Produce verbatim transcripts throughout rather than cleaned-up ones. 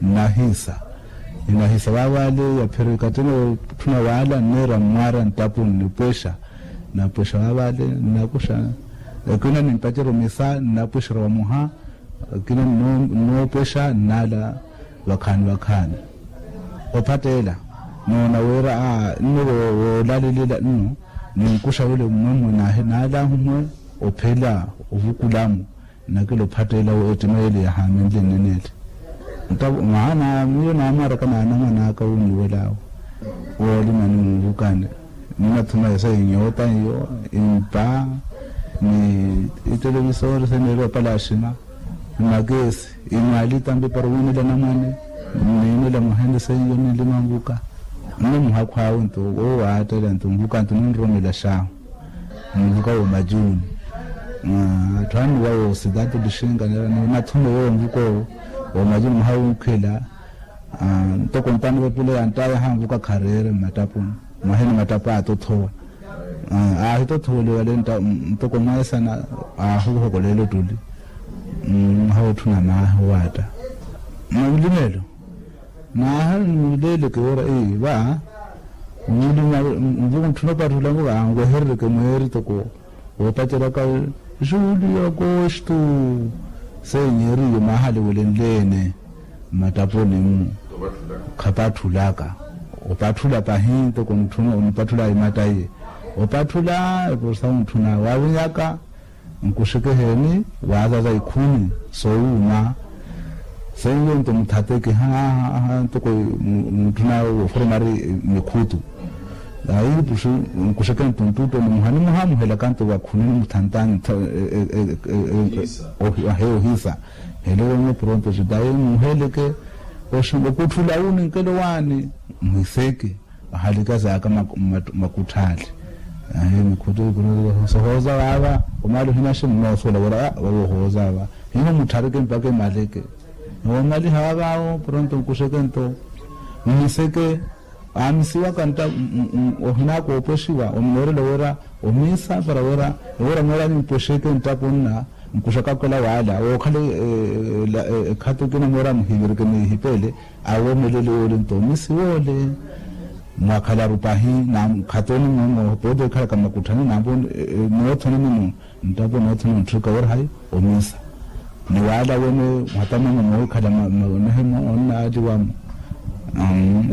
Nnahiisa, ninahiisa waavaale yaphirika tena otthuna waala nneera mmwaara nttapuni nipwexa. Napwexa waavaale nnakuxa, ekina nimpacerya omisa nnapwexerya wamuha. Ekina nnoopwexa nnaala vakhaani vakhaani. Ophatteela noona wira nno woolalilela nno, ninkuxa wile mmwemmwe naalahu mmwe ophela ovukulamu. Nnakela ophatteela ettima yeele yahaamenle nnene ele. Maana miyo naamwaraka naanamwan'aka wunnuwel'awe woolima ni wunvukani. Ninathuma esa inyoota iyo, impa, ni itelevisori seneeriwa palaxima, ni makesi, imwaali tampi para owiinela anamwane, niinela mwaha ene seiyo ninlima nvuka. Nno muhakhu awe nto woowaattela nto nvuka nto ninroromela xaahu. Nvuka woomajuuni. Atthu annuwa woosidatu lixinka nira nimathuma yoowo nvuka owo woomajuuni muhawunkhela. Ntoko ntano vepule yanttayaha nvuka khareere mmattapuni. Mwaheni mattapu aatothowa. Aahitothoweliwa le ntoko mweesana. Aahuhokolela ottuli. Mwaha wootthuna maahi owaatta. Mwalulimelo. Naaha nnuleeleke woora eyi va nvuka ntthuna opatthula nvuka anweherereke mweeri toko woopaceryaka juliyo agosto. Seiyo eeriyo mwaahaliwelenle-ene mmattapuni-mmu. Khapatthulaka. Opatthula pahi ntoko ntthuna onipatthula imattaiye. Opatthula epurusa ontthuna waavinyaka. Nkuxeke heeni waazaza ikhuni soowuuma. Seiyo nto muthateke haha ntoko mutthuna wooforomari mikhutu. Ayi nkuxeke nto nttutto ni muha nimuhaamuhelaka nto vakhuni nimuthantaani. Ahe ohisa. Helelo nyo pronto sitayi muheleke okutthula wu ninkelo waani. Muhiseke. Ahalika saaka makutthaali. Ahi mikhutu ikuru sohooza vaava omaali ohinaxi mmoosoola wira vavo ohooza va. Hiho mutthareke mpakha emaleke. Noomaliha vaavaawo pronto nkuxeke nto mmiseke. Aamisiwaka ntta ohinaka oopwexiwa omunoorela wira omiisa para wira ewira mweera nimpwexeke nttapo nna. Nkuxaka okhela waala wookhala ekhati ekina mweera muhivirike nihipeele. Awomelele woole nto omisi woole. Mwakhalaru pahi na khatoni mmomo pooti ekhalaka mmakutthani nampo noothene nino nttapo noothene ontthika wira hayi omisa. Ni waala wene mwatamamo mookhala maonehemo onnaaliwamo.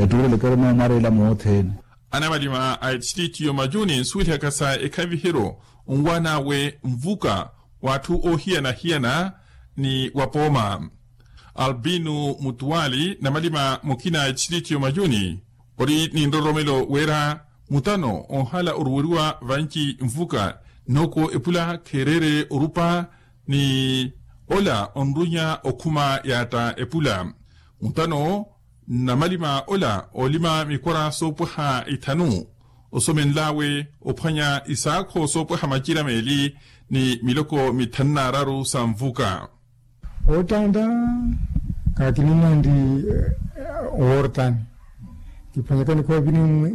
Ettuurelekero moomwareela moothene. Anamalima a etistritti y'omajuni nsuwelihaka sa ekhaviheryo onwaan'awe nvuka w'atthu oohiyana-hiyana ni wapooma. Albino mutuwali namalima mukina a etistritti y'omajuni ori ni nroromelo wira mutano onhala oruweriwa vanci nvuka. Noko epula kheereere orupa ni ola onrunya okhuma yaatta epula. Mutano namalima ola oolima mikwara soopwaha ithanu osomenl'awe ophwanya isaakho soopwaha macira meeli ni miloko mithanu n'araru sa nvuka. Ottanta kaakininya ndi owortani kiphwanyaka nikhoopiri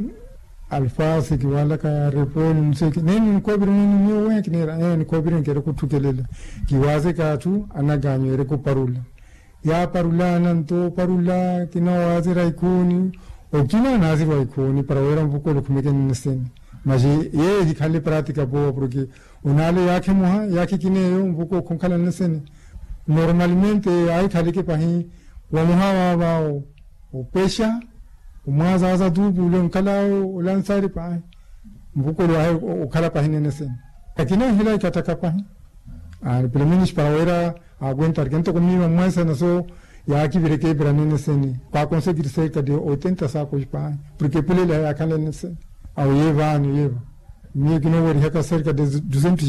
alfasi kiwalaka reponi nseeki neni nikhoopiri neni miyo weya kineera nikhoopiri nkeera kutthukelela. Kiwaaseka atthu anaganyu ereke oparula. Yaaparulana nto oparula kina waazira ikhooni. Okina naazirwa ikhooni para wira nvuka ole okhumeke nneseni. Masi yeeyo ehikhanle pratika poowa porke onaale yaakhi muha yaakhi kina eyo nvuka okhonkhala nneseni. Normalmente aahikhaleke pahi wamuha vaavaawo opwexa omwaazaaza tuupu ole onkhal'awe olansari pahi. Nvuka ole wahi okhala pahi nneseni. Akina ehila ikattaka pahi. Pelomenos para wira akwenta arikentoko miiva mweesana so yaakivireke epira nene sene. Kwaakonsekiri serka de oitenta saakos pahi porke epulele yaakhanle nene sene. Awo yeevaani yeeva miyo kinoowerihaka serka de dusentos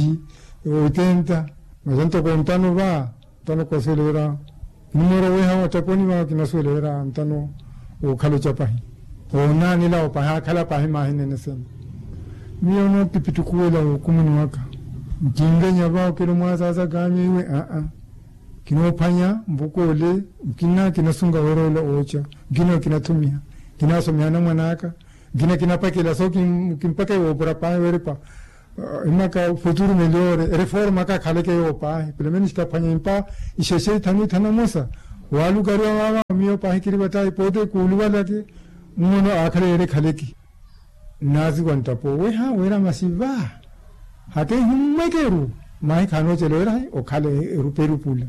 oitenta. Masi ntoko ntano va ntano kwasuwela wira kinimoora weeha wattaponi va kinasuwela wira ntano wookhala oca pahi. Onaanela opahi akhala pahi maahi nene sene. Miyo nookipittukuwela wukumuni waka nkinvenya va okela omwaazaaza kaanyu iwe aa. Kinoophwanya nvuka ole nkina kinasunga wira ola ooca nkina kinathumiha. Nkinasomiha anamwan'aka nkina kinapakela so kimpaka iwoopura paahi werepa. Imaka futuru melhore reforma kakhaleke yoopahi pelomenos kaphwanya impa ixexe ithanu ithanu amosa. Walukariwa wawa miyo pahikiri vatayi pote kuluvalake. Mmono akhala yere khaleki. Naziwa ntapo weha wera masiva. Hata ihumwekeru mahi khanocela wera hai okhala eruperupula.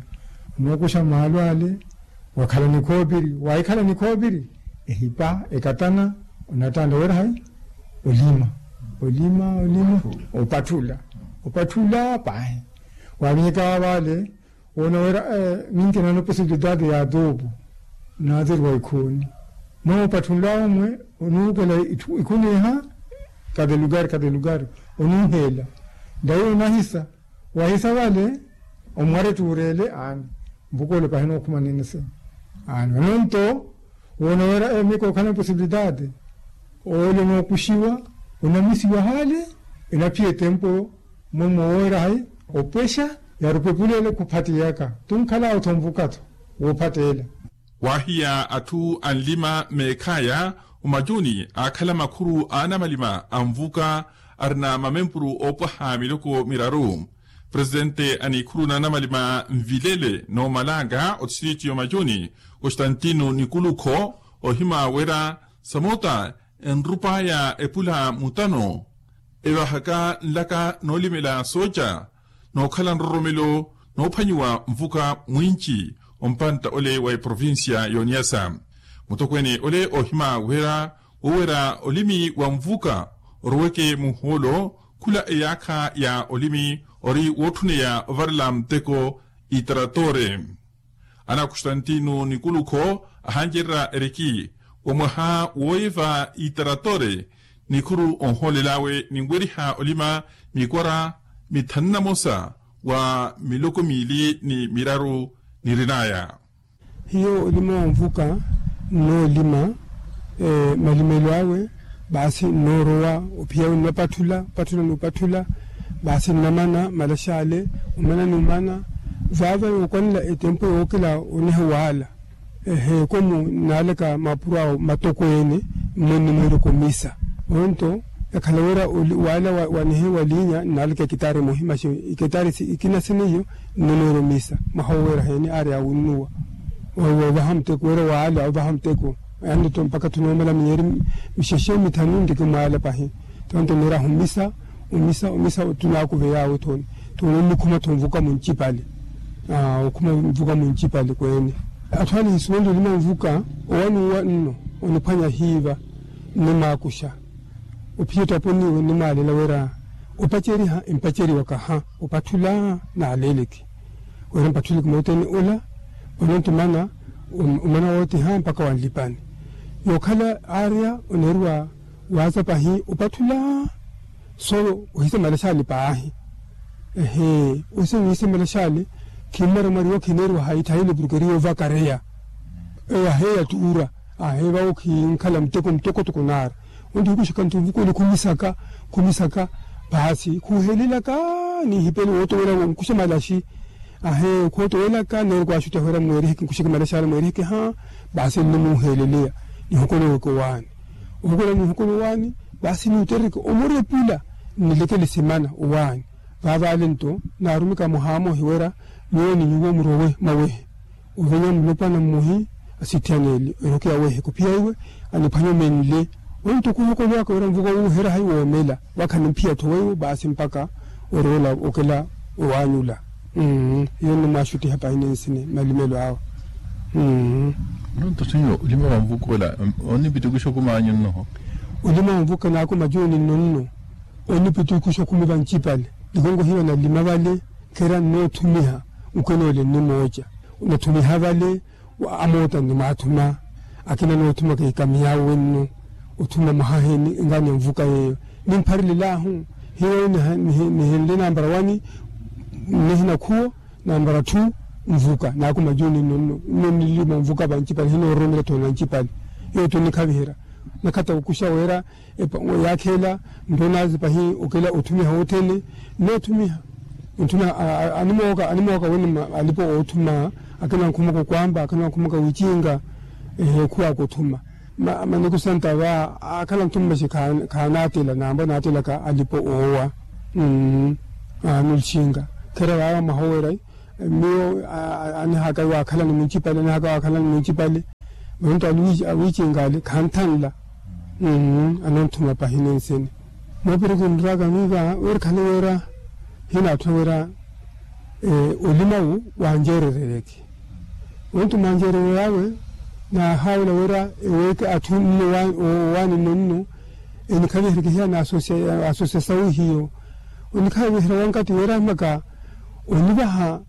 Nokusha malwale wakhala nikhopiri waikhala nikhopiri. Ehipa ekatana onatanda wera hai olima olima olima opathula opathula pahi. Wavinyeka vale wona wira. Minkinano posibilidade ya tupu. Nathiri wa ikhuni mwe opatthunla omwe onuukela ikhuni iha. Kate lukari kate lukari onuuhela. Ndayi onahisa wahisa vale omware tuurele aani. Mpukoole pahina okhuma ninise aani ononto wona wira emiko okhala posibilidade. Ole nookuxiwa onamisiwa hale enaphiya etempo. Mwe mooweera hai opwexa yarupepulele khuphattiyaka tunkhala otho nvuka-tho woophatteela. Waahiya atthu anlima meekhaya omacuni aakhala makhuru a anamalima a nvuka arina mamempuru oopwaha miloko miraru. Presitente a nikhuru na anamalima nvilele noomalanga otistriti y'omacuni constantino nikulukho ohima wira samota enrupaya epula mutano evahaka nlaka noolimela sooca nookhala nroromelo noophwanyiwa nvuka mwinci ompantta ole wa eprovincia y'oniyasa. Mutokweene ole ohima wira woowera olimi wa nvuka oroweke muhoolo khula eyaakha ya olimi ori wootthuneya ovarela muteko itaratore. Ana constantino nikulukho ahancererya eriki wa mwaha wooyiva itaratore nikhuru onhoolel'awe ninweriha olima mikwara mithanu na mosa wa miloko miili ni miraru nirin'aya. Hiyo olima wa nvuka nnoolima malimelo awe. Baasi nnoorowa ophiya awe nnapatthula opatthula n'upatthula. Baasi nnamana malaxale omana n'umana vaava yookwanela etempo yookela oneha waala. Eheeko mu nnaalaka maapuro awo matokweene mmwe nnimweereke omisa. Onto yakhala wira waala wanehe waliinya nnaalaka ekitaari muhimaxi ekitaari ikina siniyo. Nnonoora omisa mwaha oweera heene aari awunnuwa woovaha muteko wira waala ovaha muteko. Yaani tto mpakha ttunoomala miyeeri mixexe mithanu nriki mwaala pahi. Ttonto neeraha omisa omisa omisa ttunaakuveya awe ttooni. Ttooni onnikhuma tto nvuka muncipale okhuma nvuka muncipale kweene. Atthu ale hisuweli olima nvuka owanuwa nno oniphwanya hiiva nnimaakuxa. Ophiya ettaponi iwe nnimwaalela wira opaceriha empaceriwaka ha opatthula. Naaleeleke wira mpatthuleke moothene ola ononto omana omana wootiha mpakha wanlipani. Yookhala aarya oneeriwa waaza pahi opatthula. Solo ohisa malaxali paahi. Ehe ohisa wiisa malaxali. Khimmwari mwariwa khineeriwa hayi thayile porke eri yoovakareya eyo aheeya tuura. Aheevawo khinkhala muteko mutokotoko naari. Onti hikuxaka nto nvuka ole khumisaka khumisaka. Paasi khuhelelaka nihipele wootowela nkuxa malaxi. Ahe khootowelaka neeri kwaaxuttiha wira mweeriheke nkuxeke malaxi ale mweeriheke ha. Baasi nnimuuheleleya nihokoloweke owaani. Ohokola nihokola owaani. Baasi niwutterereke omurepula nnilekele simana owaani. Vaavaale nto naarumika muhaamohi wira nyuwo ni nyuwo murowe mwawehe. Ovenya mulopwana mmuhi asittihaneele eroke yawehe khuphiya iwe aniphwanya omenle. Onto khuhokolowaka wira nvuka wuuhera hayi woomela vakha nimphiya-tho weiwo baasi mpakha oroola okela owaanyula. Iyo nnimwaaxuttiha pahi ninsini malimelo awe. Nonto senhor olima wa nvuka ola onipitikuxa okumi anyu nnoho? Olima wa nvuka naakumi ajuuni nno nno onipitikuxa okumi vancipale. Nikonko hiyo nalima vale. Khera nnoothumiha nkhwenoole nnimooca nathumiha vale. Amoota nnimwaathuma akina noothumaka ikamiyawe nno othuma mwaha heeni engani ya nvuka yeeyo. Nimpharelelaahu hiyo nihenle nambara wani nnihina khuwo nambara thu. Nvuka naakumi ajuuni nno nno nnilima nvuka vancipale hinoororomela tthoola ncipale. Iyo tto nnikhaviherya nakhatta okuxa wira epa yaakheela nto naazi pahi okela othumiha wothene. Nnoothumiha onthuna animooka animooka wene alipo oothuma akina nkhumaka okwaamba akina nkhumaka wicinga. Ehe okhuwaaka othuma maniko santa va akhala nthuma maxi khaanaatela naamba naatelaka alipo oowa. Anulicinga khera vaava mwaha oweera Miyo anihaka waakhalani muncipale anihaka waakhalani muncipale. Vantu awiicinkaale khanthanla. Anonthuma pahini nsene moopiri kinraka miiva weri khale wera hinaatthuna wera olimawu wanjeererereke. Ontu mwanjeerererawe naahaawela wera eweeke atthu nno owaani nno nno enikhaviherekehiya na asosiasawu hiyo onikhaviherya wankati wera maka onivaha.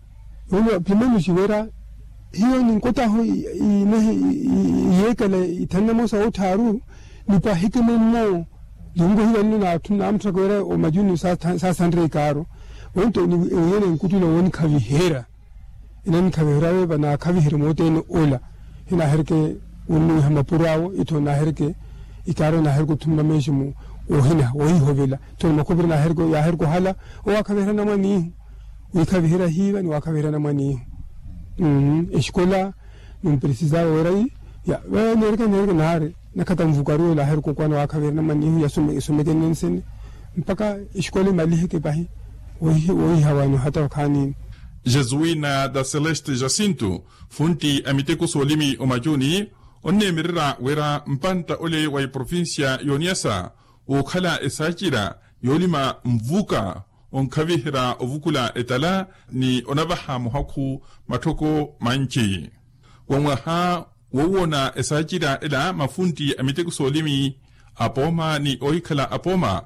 Yoona pimenuci wera hiyo ninkotaho iyeekela ithanu na moosa woottharu nipahike mummo. Ninkohivanno naamutthaka wera omajuni saasanre ikaaro. Onto ewiyene nkuttula wonikhaviherya enanikhaviherya weeva naakhaviherye moothene ola. Hinaahereke wonnuwiha mapuro awo itho naahereke ikaaro naahereke othumma meeximu woohina woohihovela. Itho ni makhupiri yaahereke ohala owaakhaviherya namwanihu wiikhaviherya hiiva ni waakhaviherya namwanihu. Exikola nimpresisawe wera ii ya neereke neereke naari nakhata nvukaru ela ahereke okwana waakhaviherya namwanihu yasomekene nsene mpakha exikola imaliheke pahi. Woiha waani ohata okhaani. Jesuina da celeste jacinto funti a miteko soolimi omachuni onneemererya wira mpantta ole wa eprovincia y'oniasa wookhala esaacira yoolima nvuka onkhaviherya ovukula etala ni onavaha muhakhu matthoko manci. Wa mwaha woowona esaacira ela mafunti a miteko soolimi apooma ni oohikhala apooma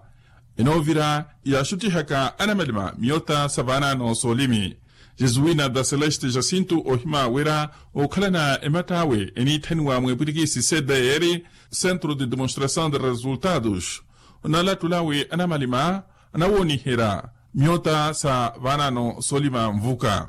enoovira yaaxuttihaka anamalima miyota sa vaanaano soolimi. Jesuina da celeste jacinto oohima wira ookhalana ematt'awe eniitthaniwa mwepwirikisi cdr centro de demonstração de resultados onalattulawe anamalima anawooniherya miyota sa vaanaano soolima nvuka.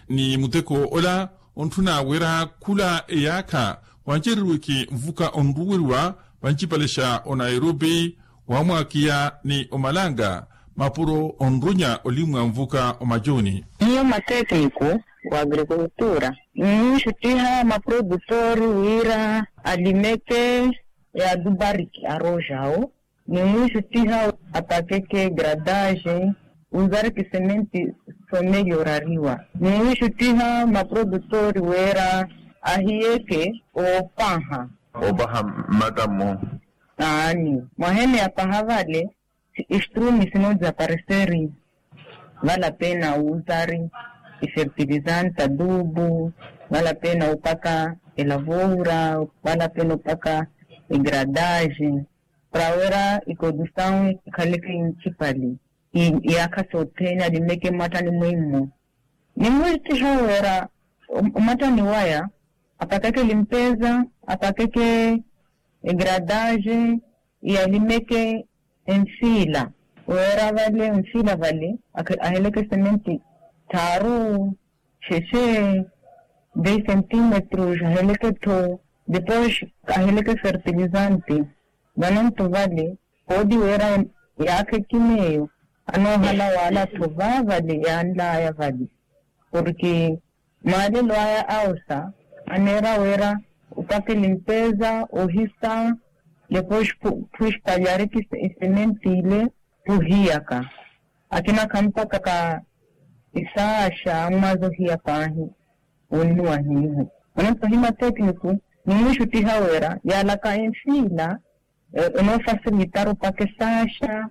Ni muteko ola ontthuna wira khula eyaakha wancereriweke nvuka onruweriwa vancipale xa onairobi wamwakiya ni omalanga mapuro onrunya olimmwa nvuka omachuni. Miyo matekniko wa agrikultura nimwiixuttiha maprodutori wira alimeke ya dubariki aroxawo nimwiixuttiha apakeke gradaxe uzariki sementi somelorariwa. Nimwiixuttiha maprodutori wira ahiyeke oopaha oopaha mmatta mmo. Aani mwahene apaha vale istrumi sinozapareseri. Vale apena uzari ifertilizante adubu vale apena upaka elavoura vale apena upaka igradaxe para wira iprodusawu ikhaleke incipali. Iyaakha sothene alimeke mmattani mwimmo nimwiittiha wira mmattani waya apakeke limpeza apakeke egradaxe yalimeke enfiila wira vale enfiila vale aheleke sementi tthaaru xexe dez centímetros aheleke-tho depois aheleke fertilizante. Vananto vale pooti wira yaakha ekina eyo anoohala waala-tho vaavale yaanlaya vale porke maalelo aya awosa aneera wira opaka elimpeza ohisa depois phuxpalyariki isementi ile phuhiyaka akina khampakaka isaaxa mmazi ohiya paahi wonnuwa hiihu. Manaso hima tekniku nimwiixuttiha wira yaalaka enfiila enoofasilitar opaka esaaxa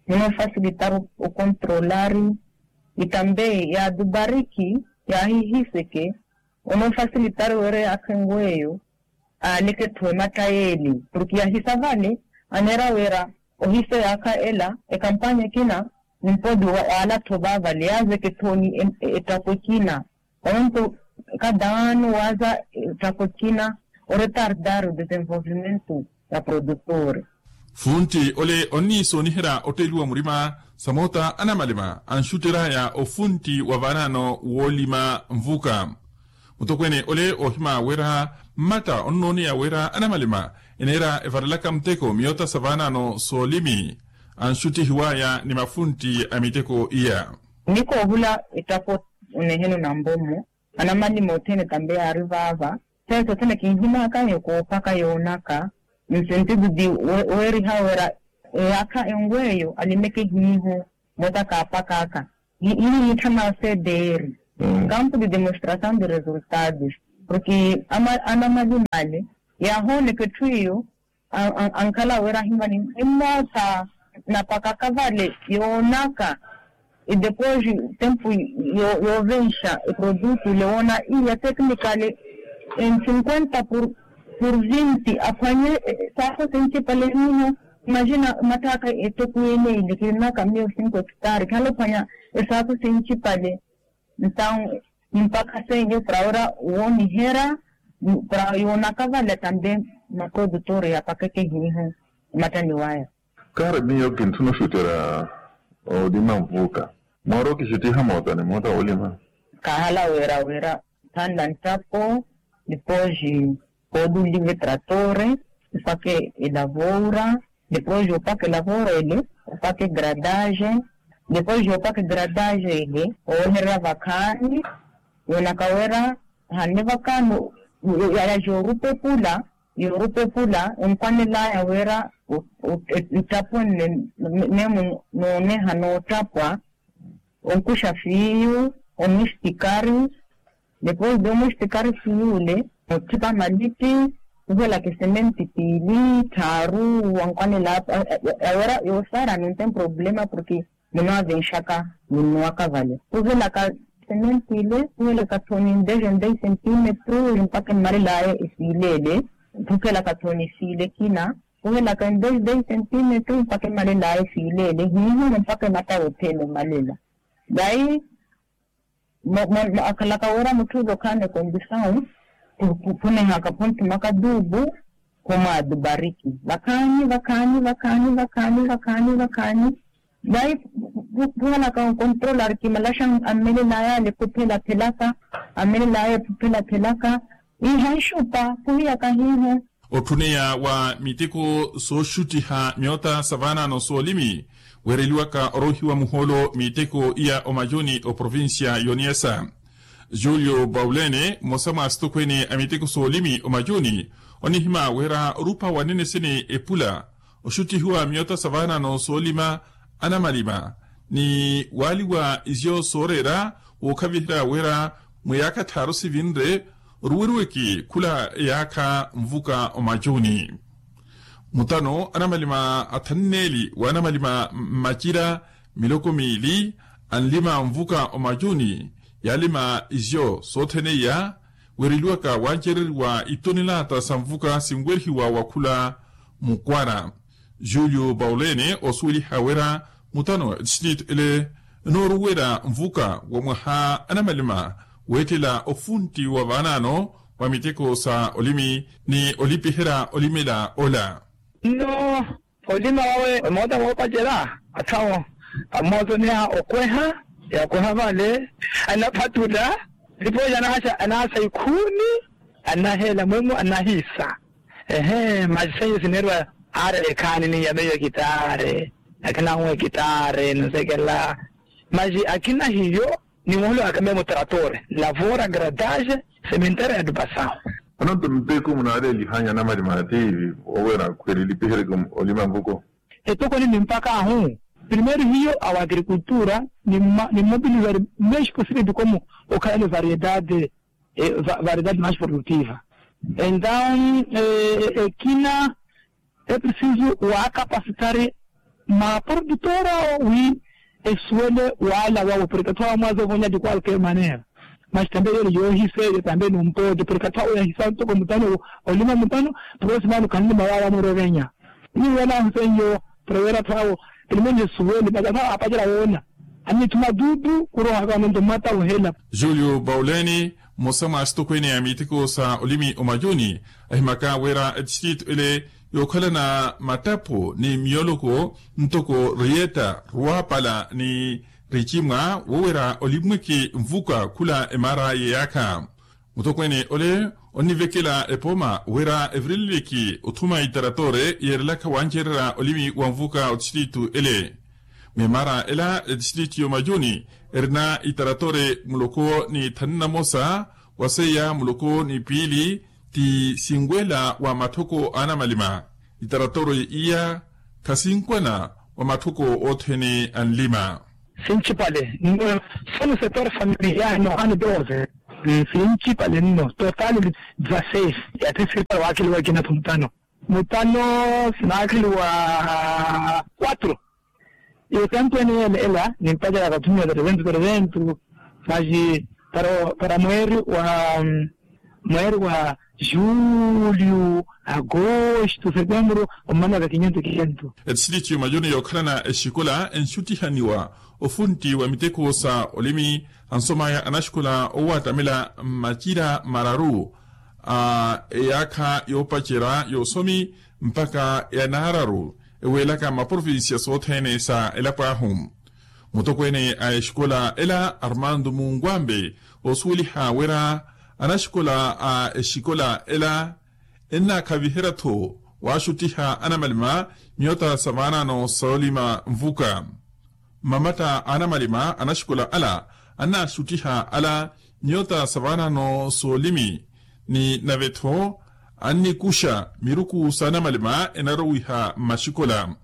enoofasilitar okontrolari itambe ya dubariki yaahihiseke onoofasilitar wira yaakha enweyo aaleke-tho ematta yeeli porke yahisa vale aneera wira ohisa eyaakha ela ekampanya ekina nimpodi waala-tho vaavale yaazeke-tho ni ettakhu ekina. Onto kadaano waaza ettakhu ekina oretardar odesenvolvimento ya produtor. Funti ole onniisooniherya otteliwa murima samoota anamalima anxutteraya ofunti wa vaanaano woolima nvuka. Mutokweene ole oohima wira mmatta onnooneya wira anamalima eneera evarelaka muteko miyota sa vaanaano soolimi anxuttihiwaya ni mafunti a miteko iya. Nikoohula ettakhu oneheno nambomu anamalima othene tambe yaari vaava. Seeso othene kinhimaakanyu koophaka yoonaka nsentido di weeriha wira eyaakha enweyo alimeke hiihu mota kaapakaaka. Hihiitthana sedeeri Kampu de demonstrasaw de resultados, porke anamalima ale yaahooneka etthu iyo ankhala wira ahimmani, nimmootha napakaka vale yoonaka. E depois tempu yoovenxa eprodutu ile woona iya teknikale en cinquenta por vinti aphwanye. Saakho sincipale hiiho. Imagina omatthaaka etoko yene ile kirinaka miyo cinco hectare khala ophwanya esaakho sincipale. Ntawu mpakha seiyo para wira wooniherya para yoonaka vale tambe maprodutor yapakeke hiiho. Omattani waya. Kaari miyo kintthuna oxutterya olima nvuka. Mooro kixuttiha moota ni moota woolima. Kaahala wira wira thanla nttapo. Depois koodulive tratore opake elavoura. Depois opake elavoura ele opake gradage. Depois opake gradage ele oohererya vakhaani. Yoonaka wira hanne vakhaani yaya yoorupepula yoorupepula enkwanelaya wira nttapo nne. Nemu nooneha noottapwa onkuxa fiiyu omwistikari. Depois de omwistikari fiiyu ule otthipa malipi khuhelaka esementi piili tthaaru wankwanela. Awira yoosaara nunte mproblema porke munoovenxaka munnuwaka vale khuhelaka esementi ile khuhelaka thoni ndeje ndei sentimetru mpakha emmalelaya efiile ele. Khuhelaka thoni efiile ekina khuhelaka ndeje ndei sentimetru mpakha emmalelaya efiile ele hiiho mpakha emattawo othene emmalela. Dayi akhalaka wira mutthu ule okhaana ekondisawu khunihaka khunthumaka duubu khumwaadu bariki vakhaani vakhaani vakhaani vakhaani vakhaani. Dayi khuhalaka onkontrola ari kimalaxa ammelelaya ale khuphelaphelaka ammelelaya ephuphelaphelaka iha nxupa khuhiyaka hiiho. Otthuniya wa miteko sooxuttiha myoota sa vaanaano soolimi weereliwaka oroohiwa muhoolo miteko iya omayuni oprovincia y'oniesa. Julio baulene mmosa mwa asitokhweene a miteko soolimi omayuni onihimya wira orupa wanene sene epula oxuttihiwa myoota sa vaanaano soolima anamalima ni waaliwa izyo sooreera wookhaviherya wira mwiyaakha tthaaru sivinre oruweriweke khula eyaakha nvuka omayuni. Mutano anamalima athanneeli w'anamalima mmacira miloko miili anlima nvuka omayuni yaalima izyo soothene iya weereliwaka wancereriwa itonelaata sa nvuka sinwerihiwa wakhula mukwara. Julio baulene osuweliha wira mutano etistrito ele enooruwela nvuka wa mwaha anamalima weettela ofuntti wa vaanaano wa miteko sa olimi ni olipiherya olimela ola. Nno olima wawe emoota woopacela atthu awo ammootoneya okweha yakweha vale anaphatula. Nipooja anaasa ikhuuni anaheela mumu anahiisa. Ehe masi seiyo sineeriwa aari ekhaani ni ya meiyo ekitaari akina ahu ekitaari nsekela. Masi akina hiyo ni muholo akamemo trator lavora gradage sementera ya dupasaho. Anonto mpeku munaaleelihanyu anamalima ati oweera khweeli lipihereke olima nvuko. Etokoni ni mpaka ahu primeiro hiyo awa agricultura ni mmobilizari mexico city dikomo okhala ni variedade variedade mais produtiva. Entawu ekina eprisisu waakapasitari maprodutora wi esuwele waala wawe porke atthu awo amwaza ovonya di qualquer manera. Masi tambe yeli yoohisa eyo tambe numpooti porke atthu awo yahisa ntoko mutano olima mutano. Porke simaano khanlima wawe amwira ovenya niwela ahu seiyo. Porke wira atthu awo elimoni esuwele masi atthu awo aapacela woona anithuma duudu khurohaka ononto mmata ohela. Julio bauleni mmosa mwa asitokhweene a miteko sa olimi omayuni ahimaka wira etistritu ele yookhalana mattapho ni miyoloko ntoko riyetta ruwapala ni richimwa woowira olimweke nvuka khula emaara yeyaakha. Mutokhweene ole onnivekela epooma wira evirilileke othuma itaratore yeerelakha wancererya olimi wa nvuka otistritu ele. Memaara ela etistritu y'omayuni erina itaratore muloko ni thanu na mosa wa seiya muloko ni piili ti sinwela wa matthoko a anamalima. Itaratore iya khasinkwana wa matthoko othene a nlima. Sinchipale nno. Sonu setor familiar nohano doze. Sinchipale nno total. Dzaseis. Yatthi sirikali waakeliwa ekina-tho mutano. Mutano sinaakheliwa quatro. Iyo tempu ene yele ela nimpacela kathumiwa tareventu tareventu. Masi para mweeri wa mweeri wa julio, agosto, setembro, ommana kakinyentu kiyentu. Etistriti yomajuni yookhalana exikola enxuttihaniwa ofuntti wa miteko sa olimi ansomaya anaxikola owaattamela mmacira mararu a eyaakha yoopacerya yoosomi mpakha ya naararu eweelaka mmaprovincia sothene sa elapo ahu. Mutokweene a exikola ela armando munkwampe oosuweliha wira anaxikola a exikola ela ennaakhaviherya-tho waaxuttiha anamalima miyota sa vaanaano soolima nvuka. Mmamatta a anamalima anaxikola ala annaaxuttiha ala miyota sa vaanaano soolimi ni nave-tho annikuxa miruku sa anamalima enarowiha mmaxikola.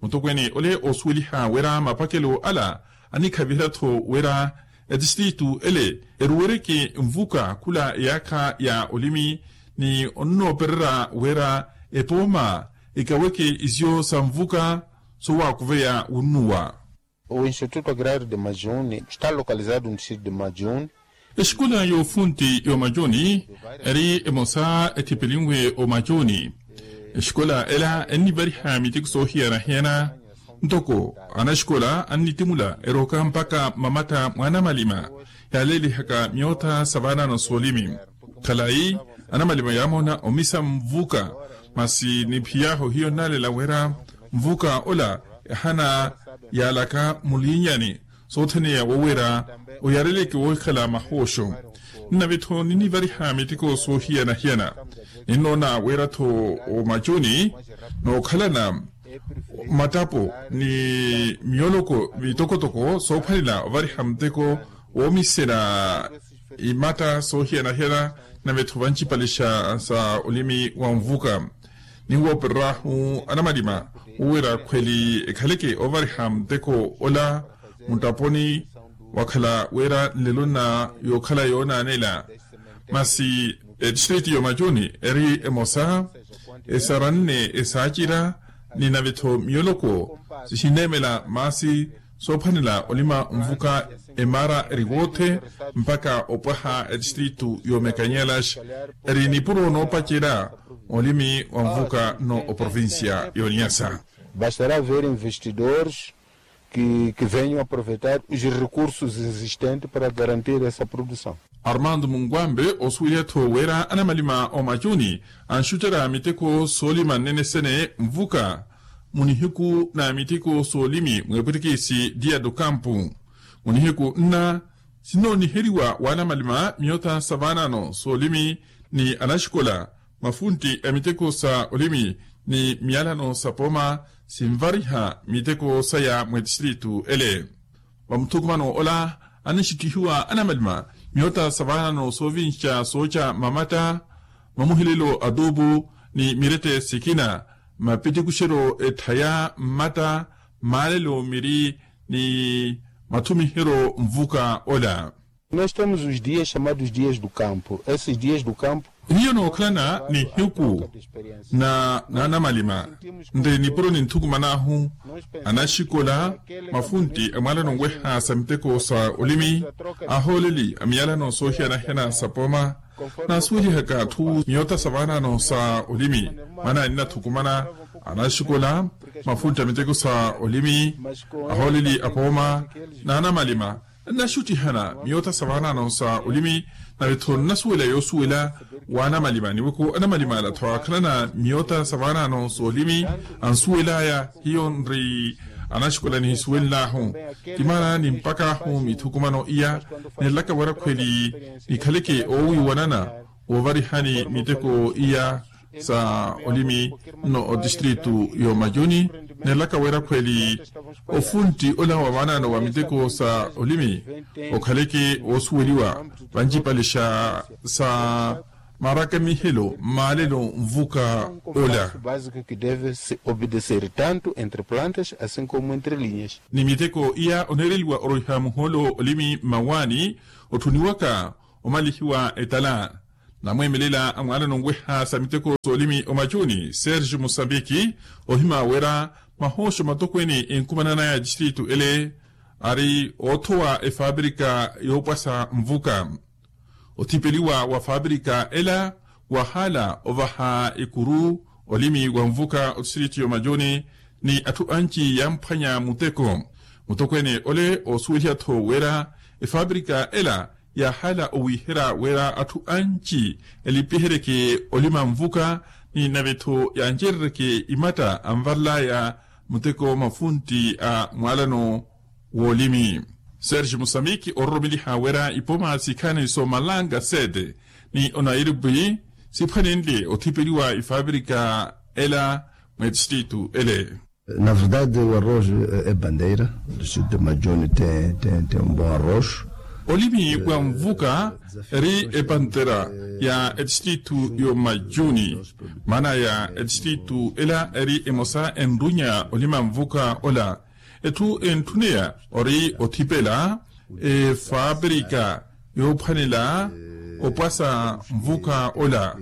Mutokweene ole oosuweliha wira mapakelo ala annikhaviherya-tho wira etistritu ele eruwereke nvuka khula eyaakha ya olimi ni onnoopererya wira epooma ekaweke isiyo sa nvuka sowaakuveya wunnuwa. O instituto agrario de majuni esta localizado no distrito de majuni. Exikola yoofuntti y'omajuni eri emosa ethipelinwe omajuni. Exikola ela ennivariha miteko soohiyana-hiyana ntoko anaxikola annitimula erooka mpakha mmamatta mwa anamalima yaaleelihaka miyotha sa vaanaano soolimi. Khalayi anamalima yaamoona omisa nvuka masi ni phiyaahu hiyo nnaalela wira nvuka ola ehana yaalaka mulinyani soothene ya wowera oyareleke wohikhala mahooxo. Nnave-tho ninnivariha miteko soohiyana-hiyana ninnoona wira-tho omacuni nookhalana matapo ni miyoloko mitokotoko soophwanela ovariha muteko woomisela imatta soohiyana-hiyana. Nave-tho vancipalixa sa olimi wa nvuka ninwoopereryahu anamalima wowira khweli ekhaleke ovariha muteko ola mutaponi wakhala wira nlelo nna yookhala yoonaanela. Masi etistriti y'omacuni eri emosa esaranne esaacira ni nave-tho miyoloko sihineemela maasi soophwanela olima nvuka emaara eri woothe mpakha opwaha etistritu y'omekanyelax eri nipuro noopacerya olimi wa nvuka nno oprovincia y'oniyasa. Bastará ver investidores que venham aproveitar os recursos existentes para garantir essa produção. Armando munkwambe osuweliya-tho wira anamalima omacuni anxucerya miteko soolima nnene-sene nvuka munihiku na miteko soolimi mwepwitikisi dia do campo. Munihiku nna sinnooniheriwa w'anamalima miyotha sa vaanaano soolimi ni anaxikola mafuntti a miteko sa olimi ni miyalano sa pooma sinvariha miteko saya mw'etistritu ele. Vamuthukumano ola annixittihiwa anamalima miyotha sa vaanaano soovinxa sooca mamatta mamuhelelo a tuupu ni mirette sikina mapitikuxeryo etthaya mmatta maalelo miri ni mathumiheryo nvuka ola. Nós temos os dias chamados dias do campo esses dias do campo. Hiyo nookhalana nihiku na naanamalima nri nipuro ninthukuman'ahu anaxikola mafuntti amwaalano nweha sa miteko sa olimi ahooleli a miyalano soohiyana-hiyana sa pooma naasuwelihaka atthu miyotha sa vaanaano sa olimi mwaana ninnathukumana anaxikola mafuntti a miteko sa olimi ahooleli a pooma naanamalima nnaxuttihana miyotha sa vaanaano sa olimi. Nave-tho nnasuwela yoosuwela w'anamalima niweko anamalima ala-tho aakhalana miyotha sa vaanaano soolimi ansuwel'aya hiyo nri anaxikola nihisuwenl'ahu ti maana ni mpak'ahu mithukumano iya neenlaka wira khweli nikhaleke oowiiwanana woovarihani miteko iya sa olimi nno otistritu y'omacuni neenlaka wira khweli ofuntti ola wa vaanaano wa miteko sa olimi okhaleke woosuweliwa vancipalixa sa Marakamihelo maalelo nvuka ola. Basico ki deve se obedecer tanto entre plantas asin komu entre linhas. Ni miteko iya oneereliwa oroiha muhoolo olimi mmawaani otthuniwaka omalihiwa etala. Namweemelela a mwaalano nweha sa miteko soolimi omachuni serge musambiki ohima wira mahooxo matokweene enkumananaya distritu ele ari oothowa efaabrika yoopwasa nvuka. Othipeliwa wa faabrika ela wahaala ovaha ekuru olimi wa nvuka otistritu yomajuni ni atthu anci yamphwanya muteko. Mutokweene ole oosuweliha-tho wira efaabrika ela yaahaala owiihera wira atthu anci elipiheryeke olima nvuka ni nave-tho yancerereke imatta anvarelaya muteko mafuntti a mwaalano woolimi. Serge musamiki ororomeliha wira ipoma sikhani soomalanga sete ni onairobi siphwanenle othipeliwa ifaapirika ela mweetistritu ele. Na verdade o arroz e bandeira do sítio de majoni tem um bom arroz. Olimi wa nvuka eri epantera ya etistritu yo majuni. Maana ya etistritu ela eri emosa enrunya olima nvuka ola. Etthu entthuneya ori othipela efaapirika yoophwanela opwasa nvuka ola.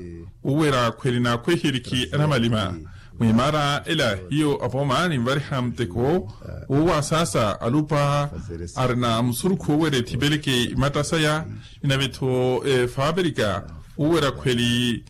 Uwera khweli naakhweherikhi anamalima mwimaara ela hiyo apoma ninvariha muteko. Wowasaasa alupa arina musurukhu owera ethipeleke imatta saya. Ninave-tho efaapirika uwera khweli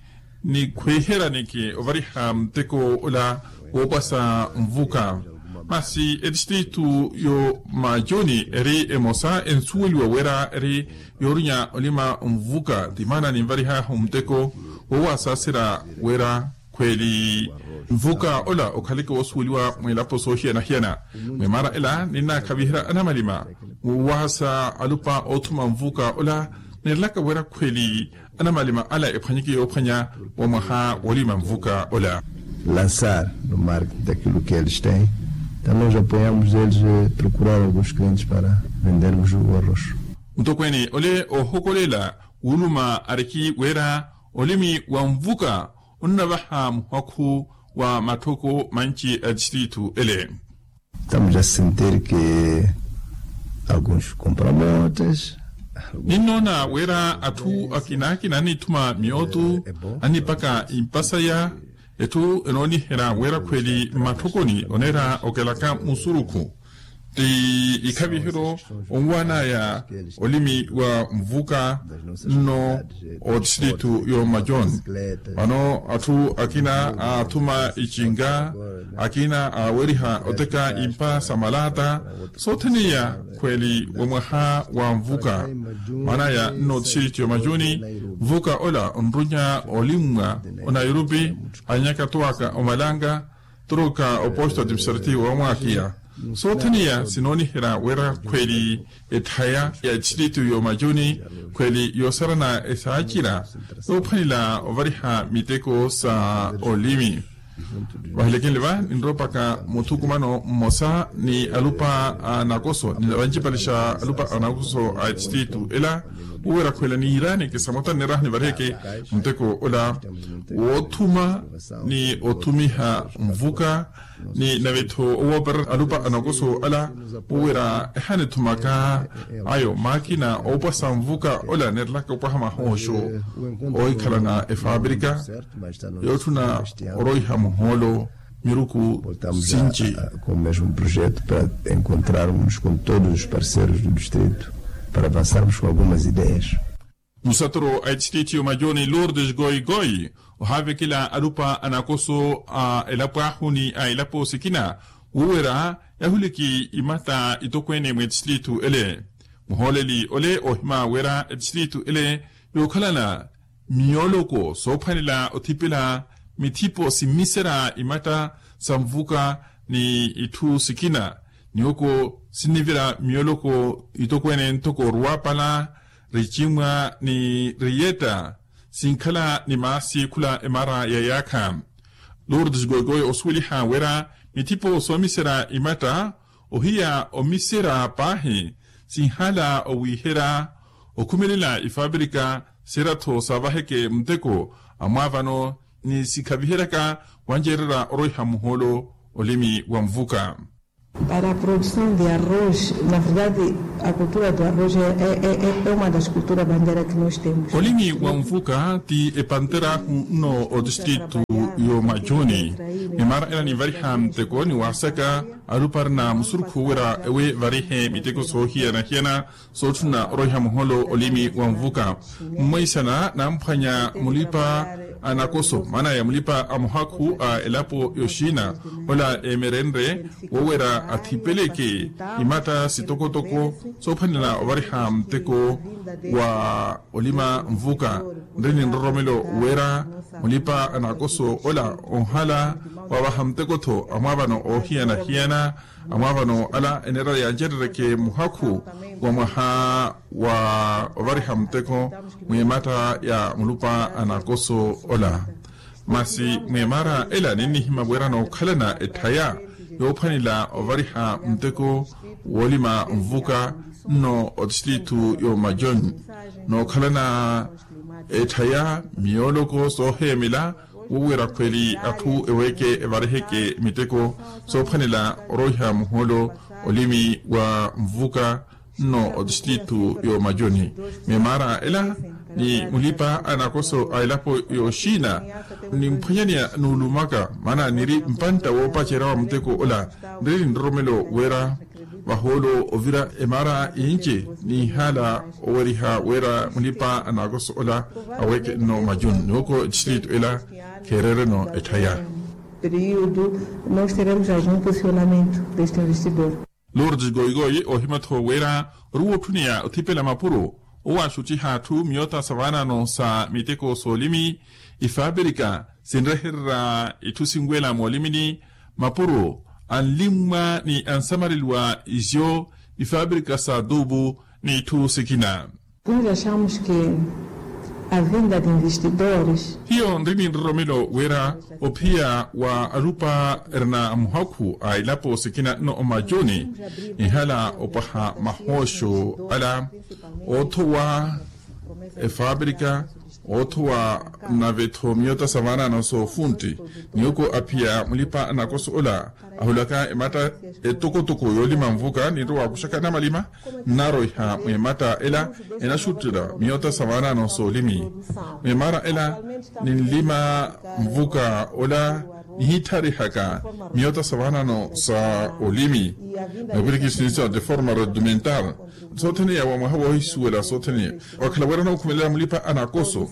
nikhweheraneke ovariha muteko ola woopwasa nvuka. Masi etistritu yo majuni eri emosa ensuweliwa wira eri yoorinya olima nvuka ti maana ninvarihaahu muteko woowasaaserya wira khweli nvuka ola okhaleke woosuweliwa mwilapo soohiyana-hiyana. Mwimaara ela ninnaakhaviherya anamalima muwaasa alupa oothuma nvuka ola. Neerelaka wira khweli anamalima ala ephwanyeke yoophwanya wa mwaha woolima nvuka ola. Lançar no marketing daquilo que eles têm. Então nós apoiamos eles procurar alguns clientes para vendermos o arroz. Mutokweene ole oohokolela wuluma ariki wira olimi wa nvuka onnavaha muhakhu wa matthoko manci a tistritu ele. Estamos a sentir que alguns compramotas. Ninnoona wira atthu akina akina annithuma miyootu annipaka impasaya. Etthu enooniherya wira khweli mmatthokoni oneera okelaka musurukhu ti ikhaviheryo onwaanaya olimi wa nvuka nno otistritu yo majoni. Vano atthu akina aathuma icinga akina aaweriha oteka impa sa malata soothene iya khweli wa mwaha wa nvuka. Maana ya nno otistritu yo majuni nvuka ola onrunya olimmwa onairobi anyaka towaka omalanga toroka oposto administrativo wamwakiya. Soothene iya sinooniherya wira khweli etthaya ya tistritu yo majuni khweli yoosarana esaacira yoophwanela ovariha miteko sa olimi. Vahilekenle va ninroopaka muthukumano mmosa ni alupa a nakoso ni vancipalixa alupa a nakoso a tistritu ela uwera khwela niiraaneke samota nneeraha nivariheke muteko ola woothuma ni othumiha nvuka ni nave-tho owoopera alupa a nakoso ala uwera ehanithumaka ayo maakina oopwasa nvuka ola neerelaka opwaha mahooxo oohikhalana efaapirika yootthuna oroiha muhoolo miruku sinci. Com o mesmo projeto para encontrarmos com todos os parceiros do distrito para avançarmos com algumas ideias. Musatoro a etistritu yo majoni lourdes goigoi ohaavekela alupa a nakoso a elapo ahu ni a elapo sikina wuwera yahuliki imatta itokweene mw'etistritu ele. Muhooleli ole oohima wira etistritu ele yookhalana miyoloko soophwanela othipela mithipo simmiserya imatta sa nvuka ni itthu sikina niwoko sinnivira miyoloko itokweene ntoko ruwapala richimwa ni riyetta sinkhala ni maasi khula emara ya yaakha. Lourdes goigoi osuweliha wira mithipo soomiserya imatta ohiya omiserya paahi sinhala owiihera okhumelela ifaapirika Siira-tho saavaheke muteko amwaavano ni sikhaviheryaka wanceererya orweha muhoolo olimi wa nvuka. Para a produção de arroz na verdade a cultura do arroz é uma das culturas bandeira que nós temos. Olimi wa nvuka ti epantera ahu nno otistritu y'omacuni. Mimaara ela ninvariha muteko ni waasaka alupa arina musurukhu wira ewe evarihe miteko soohiyana-hiyana sootthuna orweha muhoolo olimi wa nvuka. Mmoisana namphwanya mulipa a nakoso maana ya mulipa a muhakhu a elapo yoxina ola emerenre wowera athipeleke imatta sitokotoko soophwanela ovariha muteko wa olima nvuka. Nri ni nroromelo wera mulipa a nakoso ola onhala wavaha muteko-tho amwaavano oohiyana-hiyana. Amwaavano ala eneera yancerereke muhakhu wa mwaha wa ovariha muteko mwimatta ya mulupa a nakoso ola. Masi mwimaara ela ninnihima wira nookhalana etthaya yoophwanela ovariha muteko woolima nvuka nno otistritu y'omaconi nookhalana etthaya miyooloko sooheemela wowira khweli atthu eweeke evariheke miteko soophwanela orooiha muhoolo olimi wa nvuka nno otistritu y'omaconi. Mimaara ela ni mulipa a nakoso a elapo yoxina nimphwanyaneya nuulumaka maana niri mpantta woopacerya wa muteko ola nri ni nroromelo wira vahoolo ovira emaara inci ninhala oweriha wira mulipa a nakoso ola aweeke nno macuni ni oko etistritu ela kheerereno etthaya. Período nós teremos algum posicionamento deste investidor. Lourdes goigoi ohima-tho wira ori wootthuniya othipela mapuro owo axuttiha atthu miyota sa vaanano sa miteko soolimi. Ifaapirika sinrehererya itthu sinwela moolimini mapuro anlimmwa ni ansamareliwa izo ifaapirika sa tuupu ni itthu sikina. Nós achamos que a vinda de investidores. Hiyo nri ni nroromelo wira ophiya wa alupa erina muhakhu a elapo sikina nno omacuni nihala opwaha mahooxo ala oothowa efaapirika oothowa nave-tho miyota sa vaanano soofuntti ni oko aphiya mulipa a nakoso ola ahulaka ematta etokotoko yoolima nvuka ninrowa wakuxaka namalima nnaroiha mwimatta ela enaxuttela miyota sa vaanano soolimi. Mwimaara ela ninlima nvuka ola nihitharihaka miyota sa vaanano sa olimi na virikisnisa de forma rudimentar. Sothene ya wa mwaha woohisuwela sothene ya wakhala wira nookhumelela mulipa a nakoso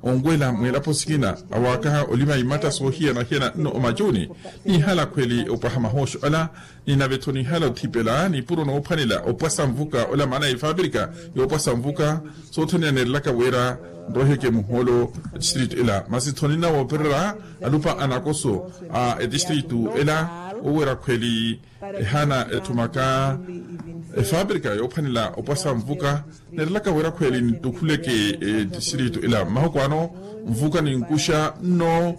onwela mwilapo sikina awaakaha olima imatta soohiyana-hiyana nno omacuni nihala khweli opwaha mahooxo ala ni nave-tho nihala othipela nipuro noophwanela opwasa nvuka ola maana ya ifaapirika yoopwasa nvuka sothene ya neerelaka wira nroheke muhoolo etistritu ela masi-tho ninna woopererya alupa a nakoso a etistritu ela wowira khweli ehaana etthumaka efaapirika yoophwanela opwasa nvuka neerelaka wira khweli nitukhuleke etistritu ela mmahuku ano nvuka ninkuxa nno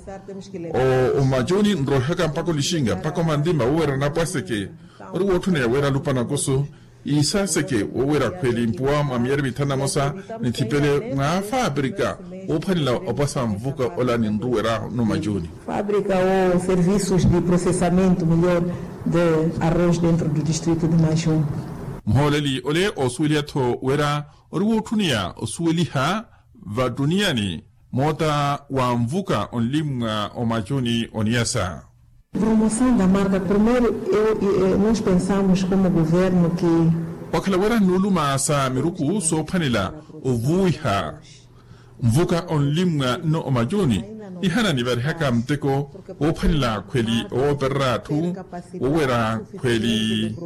omacuni nroihaka mpakha olixinga mpakha omantima wowira napwaseke ori wootthuniya wira alupa a nakoso iisaseke wowira khweli mpuwa mwa miyari mithanu na mosa nithipele mwa faapirika woophwanela opwasa nvuka ola ninruweryahu nno macuni. Fabrika ou serviços de processamento melhor de arroz dentro do distrito de macuni. Muhooleli ole oosuweliha-tho wira ori wootthuniya osuweliha vattuniani moota wa nvuka onlimmwa omacuni oniyasa. Promoção da marca primeiro eu nós pensamos como governo que wakhala wira nnuuluma sa miruku soophwanela ovuwiha nvuka onlimmwa nno omacuni nihana nivarihaka muteko woophwanela khweli owoopererya atthu wowira khweli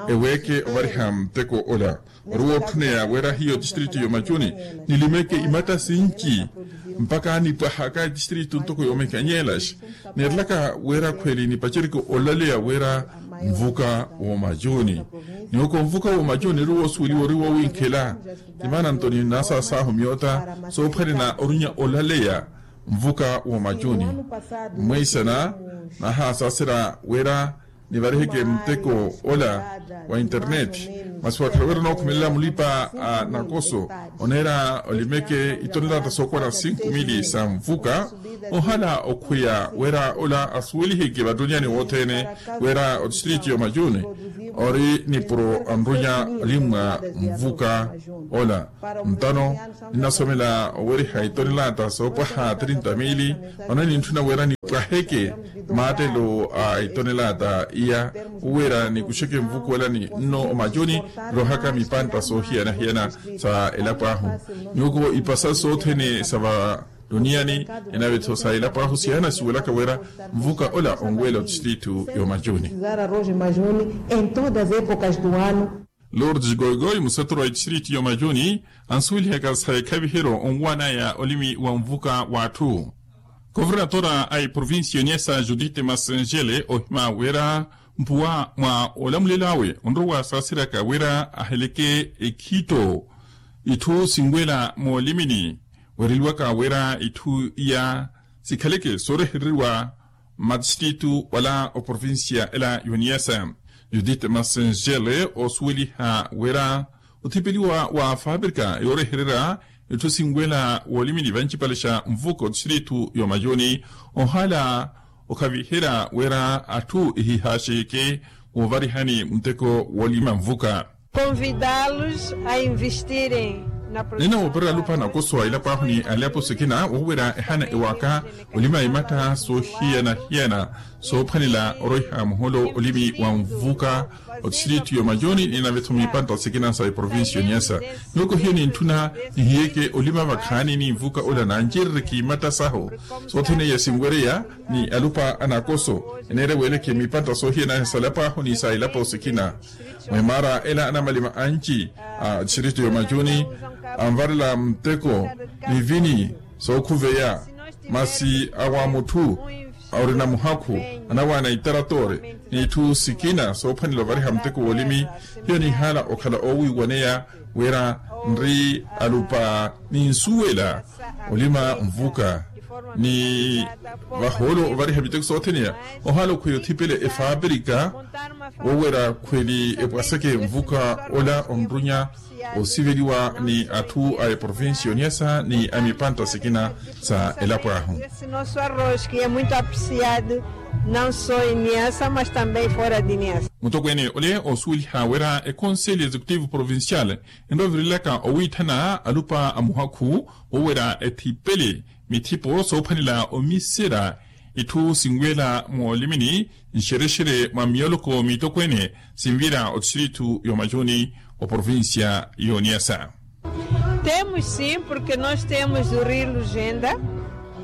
eweeke ovariha muteko ola ori wootthuneya wira hiyo tistritu y'omacuni nilimeke imatta sinci mpakha nipwahaka etistritu ntoko yoomekanyelaxa neerelaka wira khweli nipacereke olaleya wira nvuka w'omacuni ni oko nvuka w'omacuni ori woosuweliwa ori woowinkhela timaana nto ni naasaasahu myoota soophwanela orinya olaleya nvuka w'omacuni mweisana naahaasaasera wira nivariheke muteko ola wa internet, masi wakhala wira onookhumelela mulipa a nakoso oneera olimeke itonelata sookowana sinku mili sa nvuka. Ohala okhweya wira ola asuweliheke vattonyani wothene wira otistriti yomajuni ori nipuro anrunya olimwa nvuka ola. Ntano ninasomela oweriha itonelata soopwaha trinta mili. Vano nintthuna wira nipwaheke mattelo a itonelata iya wira nikuxeke nvuku ela ni nno omajuni. Rohaka mipantta soohiyana-hiyana sa elapo ahu nyuko ipasa sothene sa vattonyani. Enave-tho sa elapo ahu siyanasuwelaka wira nvuka ola onwela otistrito yomajuni. Lourdes goigoi museturu wa itistriti yomajuni ansuwelihaka sa ekhaviheryo onwanaya olimi wa nvuka w'atthu. Kovernatora a eprovincia yoniasa judith masengele ohima wira mpuwa mwa olamulelo awe onrowa saaseryaka wira aheleke ekhitto itthu sinwela moolimini. Weereliwaka wira itthu iya sikhaleke soorehereriwa matistrito wala oprovincia ela yoniasa. Judith masengele osuweliha wira othipeliwa wa faaprika yoorehererya itthu sinwela woolimini vancipale xa nvuka otistrito yomayuni ohala okhaviherya wira atthu ehihaxeke woovarihani muteko woolima nvuka. Convidá-los a investirem na produção. Nina woopererya alupa nakoso a ilapo ahu ni aliapo sikina woowerya ehana ewaka olima imatta soohiyana-hiyana soophwanela oroiha muholo olimi wa nvuka otistrito yomayuni nina vetho mipantta sikina sa eprovincia yoniasa. Noko hiyo nintthuna nihiyeke olima vakhaani ni nvuka ola nancerereke imatta sahu soothene iya sinwereya ni alupa anakoso eneere weeleke mipantta soohiyana sa ilapo ahu ni sa ilapo sikina. Mweemara ela anamalima anci a distrito yomacuni anvarela muteko ni vini sookhuveya masi awa mutthu orina muhakhu anawaana itaratore n'itthu sikina soophwanela ovariha muteko woolimi. Hiyo nihaala okhala oowiiwaneya wira nri alupa ni nsuwela olima nvuka ni vahoolo ovariha miteko soothene ya ohaala okhweya othipele efaaprika woowera khweli epwaseke nvuka ola onrunya osiveliwa ni atthu a eprovincia yoniasa ni a mipantta sikina sa elapo ahu. Nosso arroz que é muito apreciado não só em Niassa mas também fora de Niassa. Mutokweene ole osuweliha wira econselho executivo provincial enrovirelaka owiitthana alupa a muhakhu woowera ethipele mithipo soophwanela omisera itthu sinweela moolimini nxerexere mwa miyoloko mitokweene sinvira otistrito yomacuni oprovincia yoniasa. Temos sim porque nós temos o rio lugenda.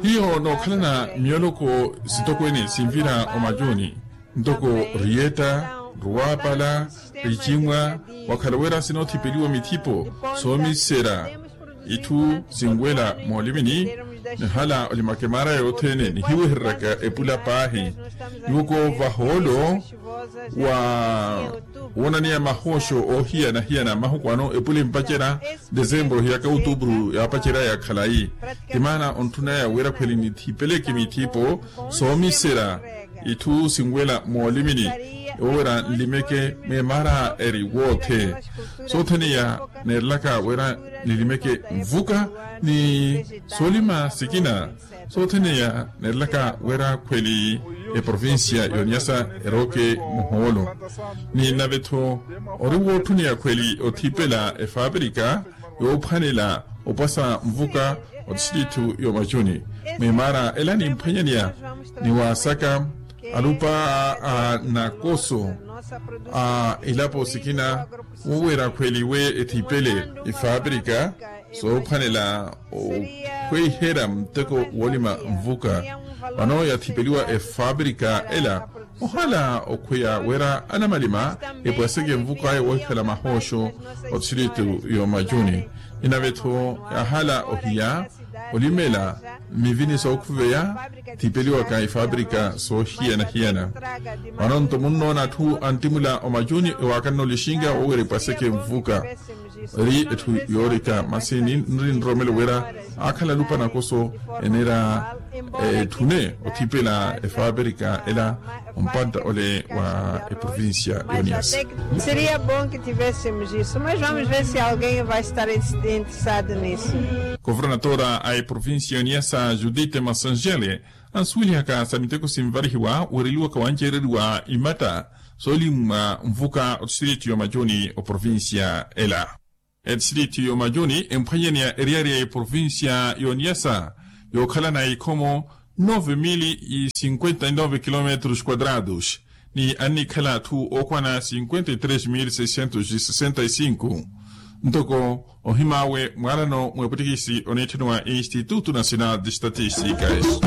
Hiyo nookhalana miyoloko sitokweene sinvira omacuni ntoko riyetta ruwapala richimwa wakhala wira sinoothipeliwa mithipo soomisera itthu sinwela moolimini. Nihala olimaka emaara yothene nihiwehereryaka epula paahi nyuko vahoolo wa woonaniya mahooxo oohiyana-hiyana mahuku ano epula empacerya desembro ohiyaka outubru yaapacerya ya khalayi. Ti maana ontthunaya wira khweli nithipeleke mithipo soomisera itthu sinwela moolimini oowera nlimeke meemara eri woothe soothene ya neerelaka wira nilimeke nvuka ni soolima sikina soothene ya neerelaka wira khweli eprovincia yoniasa erooke muhoolo ni nave-tho ori wootthuniya khweli othipela efaaprika yoophwanela opwasa nvuka otistrito yomacuni meemara ela nimphwanyaniya ni waasaka alupa a nakoso a ilapo sikina woowera khweliwe ethipele efaaprika soophwanela okhweiherya muteko woolima nvuka. Vano yathipeliwa efaaprika ela ohala okhweya wira anamalima epwaseke nvuka ayo woohikhala mahooxo otistrito yomacuni. Inave-tho yaahala ohiya Olimela mivini sookhuveya thipeliwaka ifabrika soohiyana-hiyana. Vano-nto munnoona atthu antimula omacuni ewaakanna olixinga wowira epwaseke nvuka. Eri etthu yoorika masi ninri nroromelo wira aakhala alupa nakoso eneera etthune othipela efabrika ela. Ompantta ole wa eprovincia y'oniyasa. Seria bom que tivéssemos isso mas vamos ver se alguém vai estar interessado nisso. Kofornatoora a eprovincia y'oniyasa judite massangele ansuwelihaka sa miteko sinvarihiwa weereliwaka wanceereriwa imatta soolimmwa nvuka otistritu y'omacuni oprovincia ela. Etistritu y'omacuni emphwanyaneya eriyari ya eprovincia y'oniyasa yookhalana ikhomo nove mili cinquenta y nove kilometros quadrados ni annikhala atthu ookwana cinquenta y tres mili seiscentos y sessenta y cinco. Ntoko ohim'awe mwaalano mw'epwettikisi oneetthaniwa instituto nacional de estatisticas.